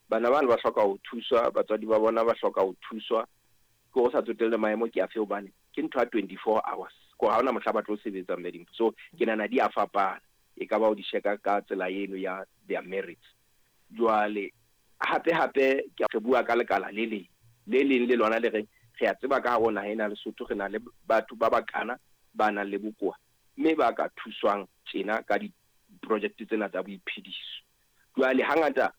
Bana bano ba hloka ho thuswa, batswadi ba bona ba hloka ho thuswa, ke ho sa tsotelle maemo ke afe, hobane ke ntho ya 24 hours, ko ha hona mohla ba tlo sebetsa mme Dimpho. So ke nahana di a fapana, e ka ba o di sheka ka tsela eno ya their merits. Jwale hape hape ke re bua ka lekala le leng, le leng le lona le reng re a tseba ka hare ho naha ena ya Lesotho re na le batho ba bakana ba nang le bokowa, mme ba ka thuswang tjena ka di-project tsena tsa boiphediso. Jwale hangata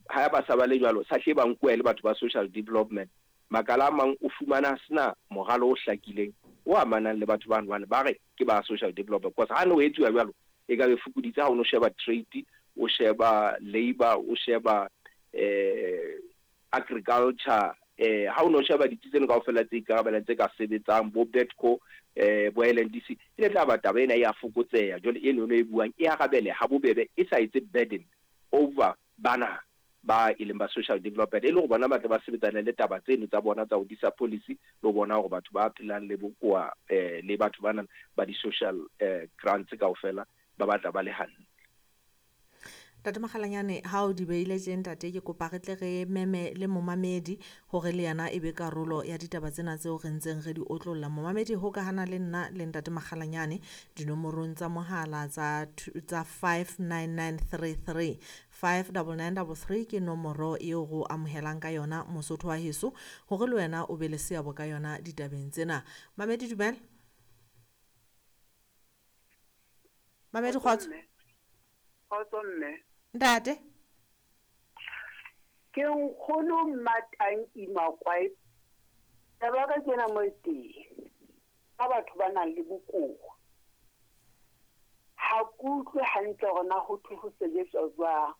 ha ba sa ba le jwalo, sa hle ba nkuwa e le batho ba social development. Makala a mang o fumana a sena moralo o hlakileng o amanang le batho bano, hobane ba re ke ba social development. Because ha ne ho etsuwa jwalo, e ka be fokoditse ha o no sheba trade, o sheba labour, o sheba agriculture, ha o no sheba ditsi tseno kaofela tse ikarabelang tse ka sebetsang, bo Betco, bo LNDC, e ne tla ba taba ena e a fokotseha. Jwale eno e buang e arabele ha bobebe, e sa etse burden over bana ba e leng ba social development, e le hore bona ba tle ba sebetsane le taba tseno tsa bona tsa ho disa policy le ho bona hore batho ba phelang le bokowa le batho bana ba di-social grants kaofela ba batla ba le hantle. Ntate Makgalanyane, ha o di beile tje ntate, ke kopa re tle re meme le momamedi hore le yena e be karolo ya ditaba tsena tseo re ntseng re di otlolla. Momamedi hokahana le nna le ntate Makgalanyane dinomorong tsa mohala tsa 59933, 59933 ke nomoro eo re o amohelang ka yona Mosotho wa heso, hore le wena o be le seabo ka yona ditabeng tsena. Mamedi, dumela. Mamedi, kgotso. Kgotso mme. Ntate. Ke nkgono Mmatanki Makwae. Taba ka kena mo teng. Ka batho ba nang le bokowa. Ha ke utlwe hantle hore na ho thwe ho sebetswa jwang.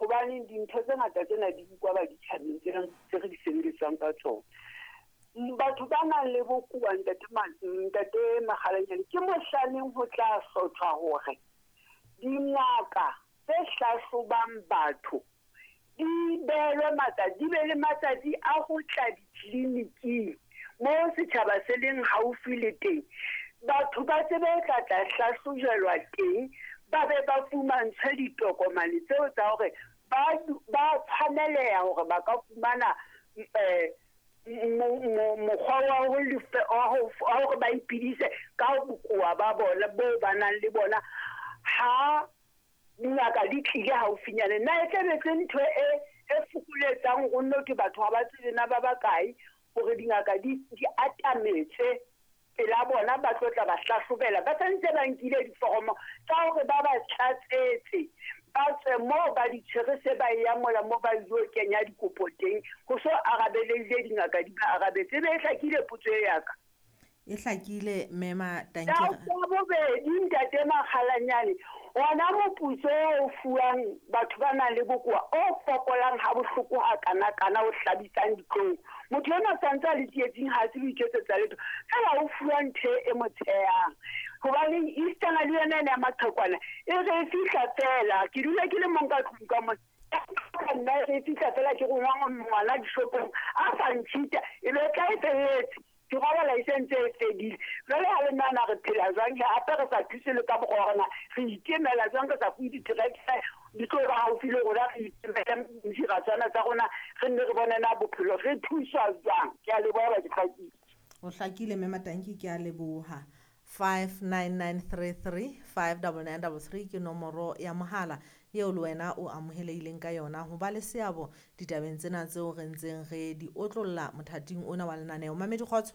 Hobane dintho tse ngata tsena di bukwa ba ditjhabeng tse re di sebedisang ka tsona. Batho ba nang le bokowa, ntate Makgalanyane, ke mohlaneng ho tla hlothwa hore dingaka tse hlahlobang batho di behelwe matsatsi, di be le matsatsi a ho tla ditleliniking mo setjhaba se leng haufi le teng. Batho ba tsebe ho tla tla hlahlojelwa teng, ba be ba fumantshwe ditokomane tseo tsa hore ba tshwaneleha hore ba ka fumana mokgwa wa hore ba iphedise ka bokowa ba bona bo ba nang le bona. Ha dingaka di tlile haufinyane, na e tlabe se ntho e fokoletsang ho nno ke batho ha ba tsebe na ba bakae hore dingaka di atametse pela bona, ba tlo tla ba hlahlobela. Ba santse ba nkile diforomo tsa hore ba ba tlatsetse, ba tswe moo ba di tshwere se ba ya mola mo ba ilo kenya dikopo teng, ho so arabelehile dingaka di ba arabetse. E be e hlakile potso e ya ka. E hlakile mme Matanki. Tsa bobedi ntate Makgalanyane, ona moputso o fuwang batho ba nang le bokowa o fokolang ha bohloko ha kana-kana, o hlabisang ditlong. Motho enwa santse a le tsietsing, ha tsebe ho iketsetsa letho, fela o fuwa ntho e mo tshehang. Hobane Easter le yona ena ya maqhekwana e re e fihla fela, ke dula ke le mong ka tlung ka mona. Nna e re e fihla fela ke rongwa ngwana dishopong a sa ntshita, e be tla e felletse. Ke robala e sentse e fedile. Jwale ha le nahana re phela jwang, hape re sa thuse le ka mokgwa wa rona, re ikemela jwang, re sa fuwe di-tractor di tlo ba haufi le rona, re ikemele diratswana tsa rona, re nne re bone na bophelo re thuswa jwang. Ke a leboha, ba ke hlakile. O hlakile mme Matanki, ke a leboha. 59933 59933 ke nomoro ya mohala eo le wena o amohelehileng ka yona ho ba le seabo ditabeng tsena tseo re ntseng re di otlolla mothating ona wa lenaneo. Mamedi, kgotso.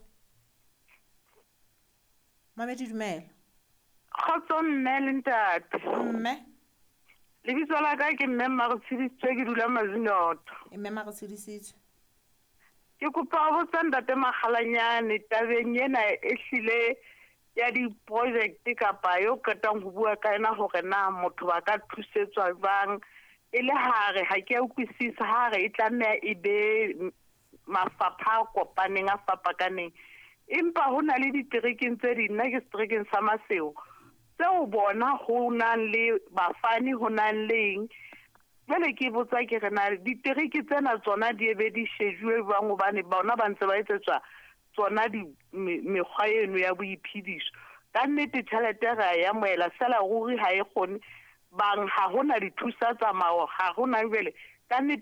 Mamedi, dumela. Kgotso mme le ntate. Mme. Lebitso la ka ke mme Mmaretshedisitswe, ke dula Mazinotho. Mme Mmaretshedisitswe. Ke kopa ho botsa ntate Makgalanyane tabeng ena e hlile ya di-project kapa yo qetang ho bua ka yona hore na motho ba ka thusetswa jwang, e le hare ha ke a utlwisisa hare e tlameha e be mafapha a kopaneng a fapakaneng, empa ho na le diterekeng tse ding, nna ke seterekeng sa Maseo, tseo bona ho nang le bafani, ho nang le eng. Jwale ke botsa ke re na ditereke tsena tsona di ebe di shejuwe jwang, hobane bona ba ntse ba etsetswa tsona di mekgwa eno ya boiphediso. Ka nnete tjhelete re a e amohela, fela ruri ha e kgone bang, ha hona dithusa tsamao, ha hona jwale ka nnete.